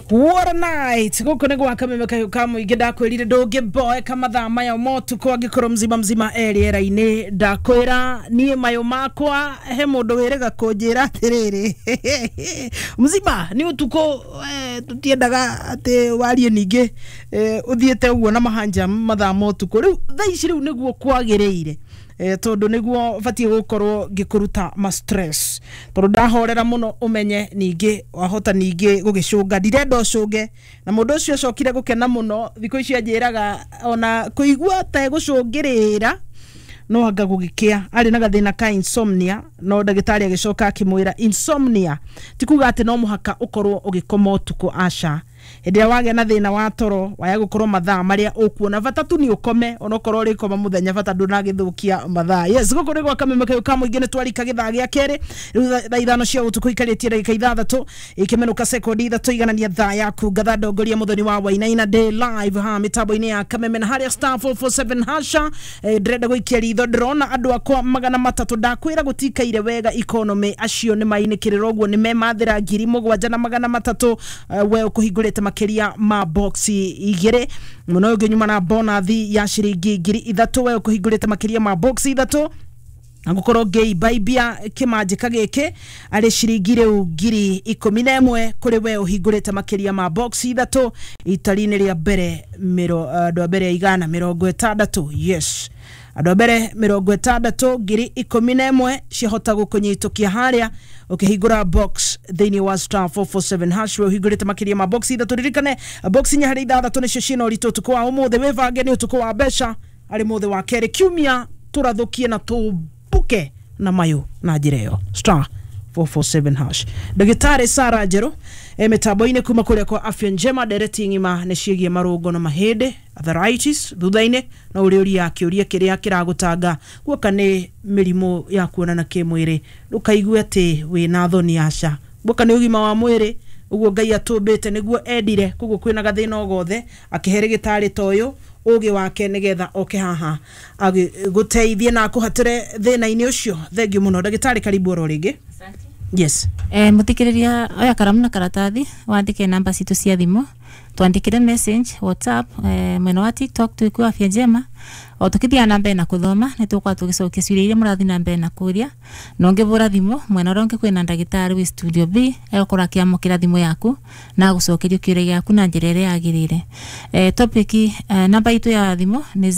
What a night. Guku nĩ gwa Kameme Kahiũ ka Mũingĩ. Ndakwĩrire ndũngĩboeka mathaa maya motukũ angĩkorwo mzima mzima e rĩera-inĩ. Ndakwĩra niĩ mayũ makwa he mũndũ wĩrĩga kũnjĩra atĩrĩrĩ, mzima nĩ ũtukũ, tũtiendaga atĩ warie ningĩ, ũthiĩte ũguo na mahanja mathaa ma ũtukũ. Rĩu thaa ici rĩu nĩguo kwagĩrĩire, tondũ nĩguo batiĩ gũkorwo ngĩkũruta ma stress, tondũ ndahorera mũno ũmenye ningĩ wahota ningĩ gũgĩcũnga. Ndirenda ũcũnge. Na mũndũ ũcio acokire gũkena mũno. Thikũ ici anjĩraga ona kũigua ta egũcũngĩrĩra no anga gũgĩkĩa arĩ na gathĩna ka insomnia, no ndagĩtarĩ agĩcoka akĩmwĩra insomnia ti kuga atĩ no mũhaka ũkorwo ũgĩkoma ũtukũ. Aca, hĩndĩ ĩrĩa wagĩa na thĩna wa toro waya gũkorwo mathaa marĩa ũkuona bata tu nĩ ũkome, onokorwo ũrĩkoma mũthenya, bata ndũnagĩthũkia mathaa. Yes, gũkũ nĩ gwa Kameme Kahiũ ka Mũingĩ. Nĩ twarika gĩthaa gĩa kerĩ rĩu, thaa 5 cia ũtukũ ikarĩtie ndagĩka 6 ikĩmenũka sekondi 3 iganania thaa yaku. Ngatha ndongoria Mũthoni wa Wainaina day live ha mĩtambo-inĩ ya Kameme na harĩa *447#. Ndĩrenda gũikia ritho, ndĩrona andũ akwa 300. Ndakwĩra gũtikaire wega economy, acio nĩ mainĩkĩrĩra ũguo nĩ memathĩra 7300. We ũkũhingũrĩte makĩria ma box 2 mũno, ũngĩ nyuma na bonathi ya ciringi 3000. We ũkũhingũrĩte makĩria ma box 3 angũkorwo ngĩimbaibia kĩmanjĩka gĩkĩ arĩ ciringi rĩu 11,000 kũrĩ we ũhingũrĩte makĩria ma box 3 itari-inĩ rĩa mbere mĩro andũ a mbere 160. Yes, andũ a mbere 60, 11,000 ciahota gũkũnyitũkia harĩa ũkĩhingũra box thĩinĩ wa *447#. We ũhingũrĩte makĩria ma box 3, ririkane box 4 harĩ 6 nĩcio ciĩna ũritũ ũtukũ wa ũmũthĩ. Wĩbange, nĩ ũtukũ wa mbeca, arĩ mũthĩ wa kerĩ kiumia, tũrathũkie na tũmbuke na mayũ na njĩra ĩyo, *447#. Ndagĩtarĩ Sara Njerũ e mĩtambo-inĩ kuma kũrĩa kwa Afya Njema. Ndereti ng'ima nĩ ciĩgiĩ marũngo na mahĩndĩ, arthritis. Thutha-inĩ no ũrĩũria kĩũria kĩrĩa kĩragũtanga guoka nĩ mĩrimũ ya kuonana kĩmwĩrĩ. Ndũkaigue atĩ wĩna thoni, aca, guoka nĩ ũgima wa mwĩrĩ ũguo Ngai atũmbĩte nĩguo endire. Koguo kwĩna gathĩna o gothe, akĩhe rĩgĩtarĩ ta ũyũ ũgĩ wake nĩgetha oke haha agĩgũteithie na akũhatĩre thĩna-inĩ ũcio. Thengiũ mũno ndagĩtarĩ, karibu oro rĩngĩ. Yes. Muthikiriria, oya karamu na karatathi wandike namba citũ cia thimũ, twandikire message WhatsApp, mwena wa TikTok twĩkuo Afya Njema. O tukithia na mbere na kuthoma nĩ tũgũkorwo tũgĩcokia ciũria iria mũrathiĩ na mbere na kũria. Na ũngĩbũra thimũ mwena ũrĩa ũngĩ kwĩna ndagĩtarĩ wĩ studio B, egũkorwo akĩamũkĩra thimũ yaku na agũcokeria kĩũria gĩaku na njĩra ĩrĩa yagĩrĩire. Topic, namba itũ ya thimũ nĩ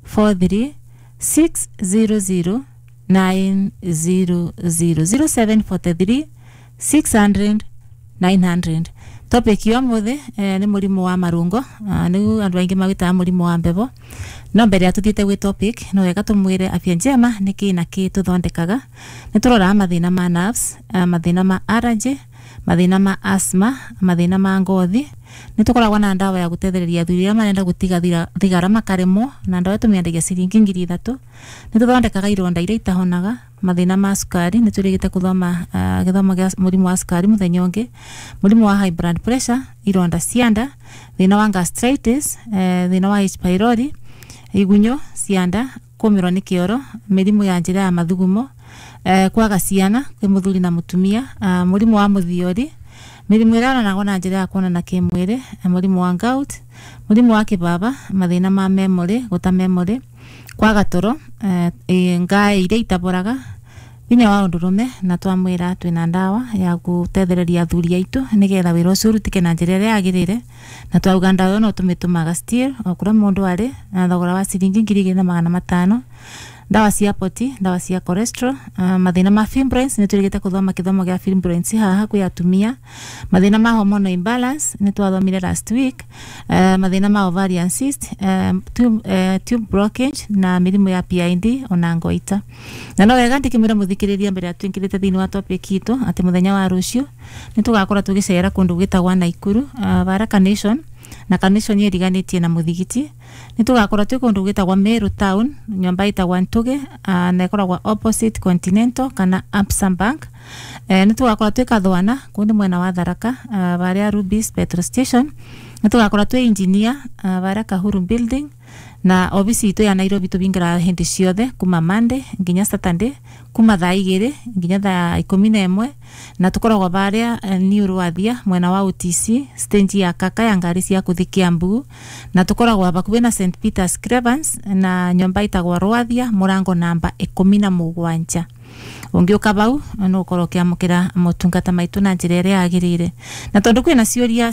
0743 600 900, 0743 600 900. Topic ya ũmũthĩ nĩ mũrimũ wa marũngo, nĩguo andũ aingĩ mawĩtaga mũrimũ wa mbebo. No mbere ya tũthiĩte gwĩ topic, no wega tũmwĩre Afya Njema nĩ kĩ na kĩ tũthondekaga. Nĩ tũroraga mathĩna ma nerves, mathĩna ma allergy, mathĩna ma asthma, mathĩna ma ngothi. Nĩ tũkoragwo na ndawa ya gũtethereria athuri arĩa marenda gũtiga thigara makaremwo, na ndawa tũmĩendagia ciringi 3000. Nĩ tũthondekaga ironda iria itahonaga, mathĩna ma cukari, nĩ tũrĩgĩte gũthoma gĩthomo gĩa mũrimũ wa cukari mũthenya ũngĩ, mũrimũ wa high blood pressure, ironda cia nda, thĩna wa gastritis, thĩna wa H pylori, igunyũ cia nda, kũmĩrwo nĩ kĩoro, mĩrimũ ya njĩra ya mathugumo, kwaga ciana kwĩ mũthuri na mũtumia, mũrimũ wa mũthiori, mĩrimũ ĩrĩa yonanagwo na njĩra ya kuonana kĩmwĩrĩ, mũrimũ wa gout, mũrimũ wa kĩbaba, mathĩna ma memory, gũta memory, kwaga toro, ngaĩ iria itaboraga, hinya wa ũndũrũme. Na twamwĩra twĩna ndawa ya gũtethereria athuri aitũ nĩgetha wĩra ũcio ũrutĩke na njĩra ĩrĩa yagĩrĩire, na twauga ndawa ĩyo no tũmĩtũmaga still o kũrĩa mũndũ arĩ na thogora wa ciringi 2500. Ndawa cia poti, ndawa cia cholesterol, mathĩna ma fibroids, nĩ tũrĩgĩte gũthoma gĩthomo gĩa fibroids haha kwĩ atumia, mathĩna ma hormonal imbalance nĩ twathomire last week, mathĩna ma ovarian cyst, tube blockage na mĩrimũ ya PID ona ngoita. Na no wega ndikĩmwĩra mũthikĩrĩria mbere ya twĩingĩrĩte thĩinĩ wa topic itũ atĩ mũthenya wa rũciũ nĩ tũgakorwo tũgĩcera kũndũ gwĩtagwa Naikuru, Baraka Nation, na Carnation ĩriganĩtie na mũthigiti. Nĩ tũgakorwo twĩ kũndũ gwĩtagwa Meru Town, nyũmba ĩtagwa Ntuge, na ĩkoragwo opposite Continental kana Absa Bank. Nĩ tũgakorwo twĩ Kathwana, kũu nĩ mwena wa Tharaka, harĩa Rubis petrol station. Nĩ tũgakorwo twĩ Engineer, harĩa Kahuru building. Na obisi itu ya Nairobi tubingiraga hindi ciothe kuma Monday nginya Saturday, kuma thaa 2 nginya thaa 11, na tukoragwo baria New Rwathia mwena wa OTC stage ya kaka ya ngari cia kuthi Kiambu, na tukoragwo bakubi na St Peter's Cravens na nyomba itagwo Rwathia murango namba 17. Ungiuka bau no ukorwo ukiamukira motungata maitu na njira iria yagirire, na tondu kwina ciuria.